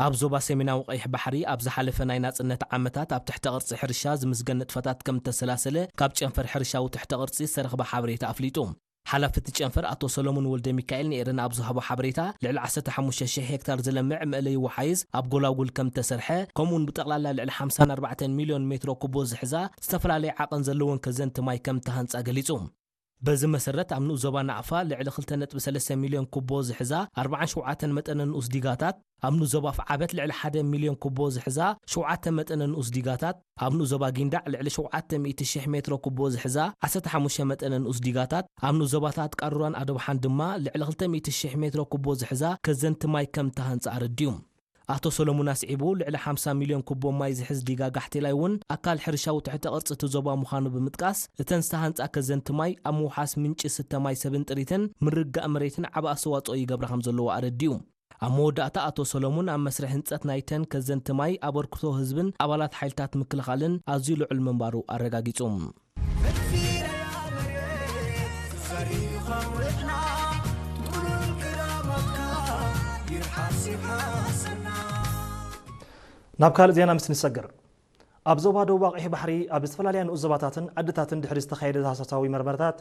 ኣብ ዞባ ሰሜናዊ ቀይሕ ባሕሪ ኣብ ዝሓለፈ ናይ ናጽነት ዓመታት ኣብ ትሕተ ቅርጺ ሕርሻ ዝምስገን ንጥፈታት ከም እተሰላሰለ ካብ ጨንፈር ሕርሻዊ ትሕተ ቅርጺ ዝተረኽበ ሓበሬታ ኣፍሊጡ። ሓላፊ እቲ ጨንፈር ኣቶ ሰሎሙን ወልደ ሚካኤል ንኤረና ኣብ ዝሃቦ ሓበሬታ፣ ልዕሊ ዓሰርተ ሓሙሽተ ሽሕ ሄክታር ዝለምዕ መእለዪ ወሓይዝ ኣብ ጎላጉል ከም እተሰርሐ፣ ከምኡውን ብጠቕላላ ልዕሊ ሓምሳን ኣርባዕተን ሚልዮን ሜትሮ ኩቦ ዝሕዛ ዝተፈላለየ ዓቐን ዘለወን ከዘንቲ ማይ ከም እተሃንጻ ገሊጹ። በዚ መሰረት ኣብ ንኡስ ዞባ ናቕፋ ልዕሊ ክልተ ነጥቢ ሰለስተ ሚልዮን ኩቦ ዝሕዛ ኣርባዓን ሸውዓተን መጠነ ንኡስ ዲጋታት፣ ኣብ ንኡስ ዞባ ኣፍዓበት ልዕሊ ሓደ ሚልዮን ኩቦ ዝሕዛ ሸውዓተ መጠነ ንኡስ ዲጋታት፣ ኣብ ንኡስ ዞባ ጊንዳዕ ልዕሊ ሸውዓተ ሚእቲ ሽሕ ሜትሮ ኩቦ ዝሕዛ ዓሰርተ ሓሙሽተ መጠነ ንኡስ ዲጋታት፣ ኣብ ንኡስ ዞባታት ቃሩራን ኣዶብሓን ድማ ልዕሊ ክልተ ሚእቲ ሽሕ ሜትሮ ኩቦ ዝሕዛ ከዘንቲ ማይ ከም እተሃንጻ ኣረዲኡ። ኣቶ ሰሎሙን ኣስዒቡ፣ ልዕሊ ሓምሳ ሚልዮን ኩቦ ማይ ዝሕዝ ዲጋ ጋሕቴላይ እውን ኣካል ሕርሻዊ ትሕተ ቅርጺ እቲ ዞባ ምዃኑ ብምጥቃስ፣ እተን ዝተሃንጻ ከዘንቲ ማይ ኣብ ምውሓስ ምንጪ ስተ ማይ ሰብን ጥሪትን ምርጋእ መሬትን ዓቢ ኣስተዋጽኦ ይገብራ ከም ዘለዋ ኣረዲኡ። ኣብ መወዳእታ ኣቶ ሰሎሙን ኣብ መስርሕ ህንጸት ናይተን ከዘንቲ ማይ ኣበርክቶ ህዝብን ኣባላት ሓይልታት ምክልኻልን ኣዝዩ ልዑል ምንባሩ ኣረጋጊጹ። ናብ ካልእ ዜና ምስ ንሰግር፣ ኣብ ዞባ ደቡብ ኣቕይሕ ባሕሪ ኣብ ዝተፈላለያ ንኡስ ዞባታትን ዓድታትን ድሕሪ ዝተኻየደ ዳህሳሳዊ መርመርታት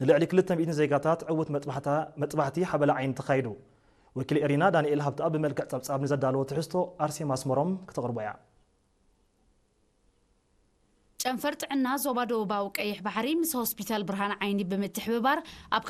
ንልዕሊ ክልተ ሚእቲ ዜጋታት ዕዉት መጥባሕታ- መጥባሕቲ ሓበላ ዓይኒ ተኻይዱ። ወኪል ኤሪና ዳንኤል ሃብተኣብ ብመልክዕ ጸብጻብ ንዘዳለዎ ትሕዝቶ ኣርሴማ ኣስመሮም ክተቕርቦ እያ። ጨንፈር ጥዕና ዞባ ደቡባዊ ቀይሕ ባሕሪ ምስ ሆስፒታል ብርሃን ዓይኒ ብምትሕብባር ኣብ